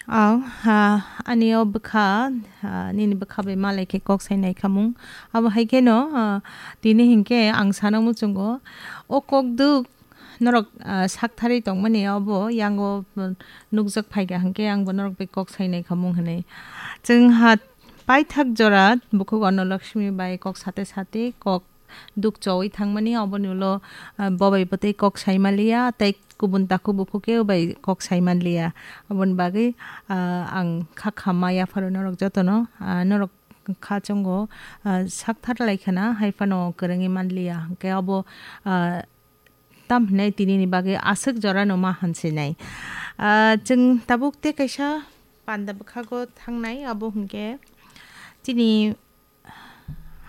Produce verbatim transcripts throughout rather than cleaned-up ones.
Aw, ha, ani o bwkha, ha, nini bwkha bai malai khe kok sai nai khamung. Abo hai kheno, ha, tini hinkhe ang sana muchungo. O kok duk norok, ah, saktharwi tongmani obo yango, mm, nukjak phaikha hinkhe angbo norok bai kok sainai khamung hinwi. Chwng ha paithak jora bukhuk Ono Lakshmi bai kok sate sate kok duk chowi thangmani oboni ulo, ah, bobai bwtwi kok saimaliya tei kubun takhuk bukhuk khe bai kok saimanliya. Oboni bagwi, ah, ang kha khamma yapharo norok jotono, ah, norok kha chongo, ah, sakthar lai khana hai phano kwrwngwi manliya. Hinkhe obo, ah, tam hinai tini ni bagwi aswk jora no ma hansinai. Ah, chwng tabuk tei kaisa panda bwkhago thangnai, abo hinkhe chini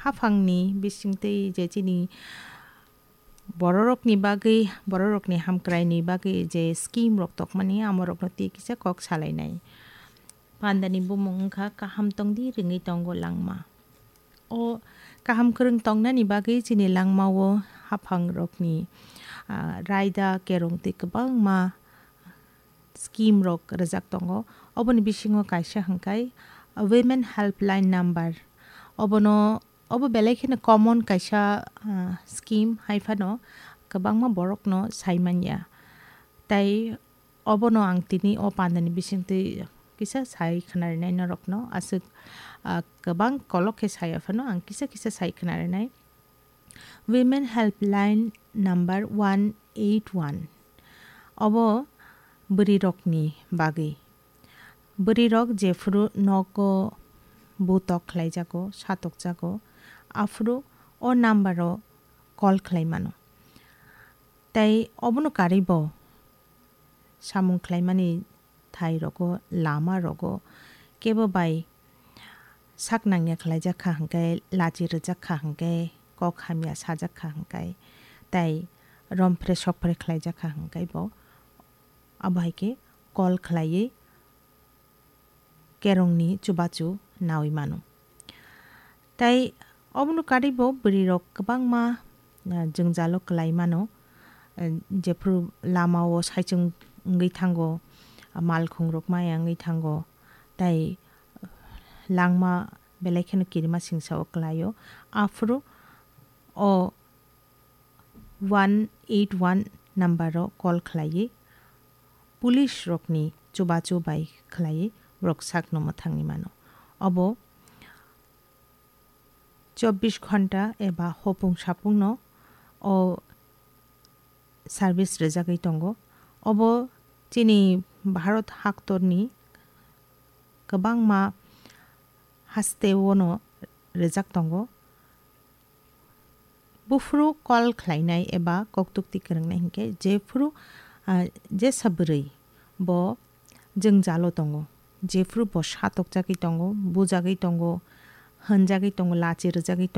haphangni bisingtwi je chini bororokni bagwi, bororokni hamkraini bagwi je scheme rok tokmani, amorokno tei kisa kok salainai. Pandani bumung wngkha kaham tongdi ringwi tongo langma. O kaham kwrwng tongnani bagwi chini langmao haphangrokni, ah, raida, kerong tei kwbangma scheme rok rwjak tongo. Oboni bisingo kaisa hwnkhe Women Helpline Number. Obono, obo belai kheno common kaisa, ah, scheme hai phano kwbangma borokno sai manya. Tai obono ang tini o pandani bisingtwi kisa sai khwnarinai norokno. Aswk, ah, kwbang kolok khe saya phano ang kisa kisa sai khwnarinai. Women Helpline Number one eight one. Obo bwrwirokni bagwi. Bwrwirok jephru nogo butok khlaijago, satokjago, aphuru o number-o call khlai mano. Tai obono karwi bo samung khlaimani thai rogo, lama rogo kebo bai sak nangya khlaijak kha hwnkhe, lachi rwjak kha hwnkhe, kok hamya sajak kha hwnkhe, tai romphre sokphre khlaijak kha hwnkhe bo abo hai khe call khlaiwi kerongni chubachu nawi mano. Tai obono karwi bo bwrwirok kwbangma, ah, jwngjalo kwlai mano, ah, jephru lamao saichung wngwi thango, ah, malkhungrok maya wngwi thango, tai langma belai kheno kirima singsao kwlaio. Aphuru o one eight one number-o call khlaiwi police rokni chubachu bai khlaiwi borok sakno mwthangwi mano. Obo chobbish ghonta eba hopung sapungno o service rwjagwi tongo. Obo chini Bharat haktorni kwbangma hasteo no rwjak tongo. Buphuru call khlainai eba koktukti kwrwngnai hinkhe jephuru, ah, jesa bwrwi bo jwngjalo tongo, jephuru bo satokjagwi tongo, bujagwi tongo, hwnjagwi tongo, lachi rwjagwi tongo,